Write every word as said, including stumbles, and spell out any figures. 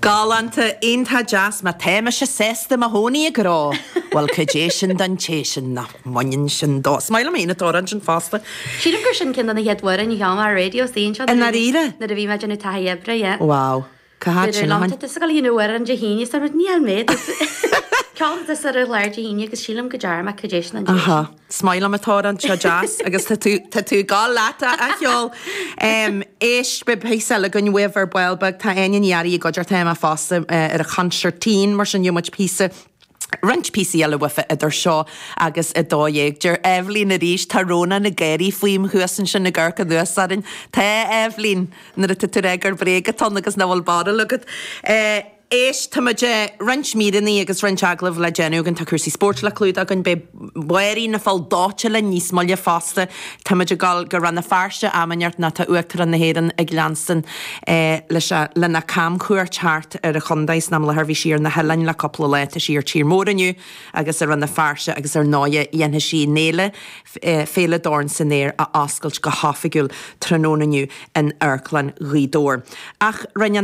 Galánta, iontach deas, má tá mise sásta mo chónaí i ngrá. Bhuel, cad é sin don té sin nach mbaineann sin dó. Is maith liom féin an t-amhrán sin fosta. Sílim gur sin ceann de na chéad amhráin a cheol mé ar raidió sa anseo. I ndáiríre? Nuair a bhí mé ag déanamh taithí oibre, yeah. Wow. Cá háit sin a Tá tusa ag dul a dhéanamh amhrán Dé hAoine, is dúirt níl mé. Ceol tusa ar an chlár Dé hAoine agus sílim go dearna mé cad é sin an dé sin. Is maith liom an t-amhrán seo deas agus tá tú tá tú ag gabháil leat a cheol. Éist, beidh píosa eile againn uaibh ar ball beag, tá Áine Ní Fhearraigh i gcuideachta Emma fosta ar an chonsairtín mar sin gheobhaidh muid píosa roinnt píosaí eile uaithi idir seo agus a dó dhéag. Deir Eibhlín arís, tá Rónán ag gáirí faoim thuas ansin ag amharc anuas orainn. Tá, Eibhlín, nuair atá tú ag rá gur bréag atá ann agus nach bhfuil barúil agat. Éist, tá muid roinnt míreanna agus roinnt agallamh le déanamh againn, tá cúrsaí spóirt le clúdach againn, beidh Máirín na Fál Dóite linn níos moille fosta. Tá muid ag dul go Rann na Feirste am inteacht nó tá Uachtarán na hÉireann ag leanstan leis lena camchuairt thart ar an chontae san am i láthair. Bhí sí ar na hoileáin le cúpla lá, tá sí ar tír mór inniu agus i Rann na Feirste agus ar ndóighe dhéanfaidh sí an fhéile, Féile Dorn san Aer a oscailt go hoifigiúil tráthnóna inniu in Amharclann Ghaoth Dobhair. Ach rinne an.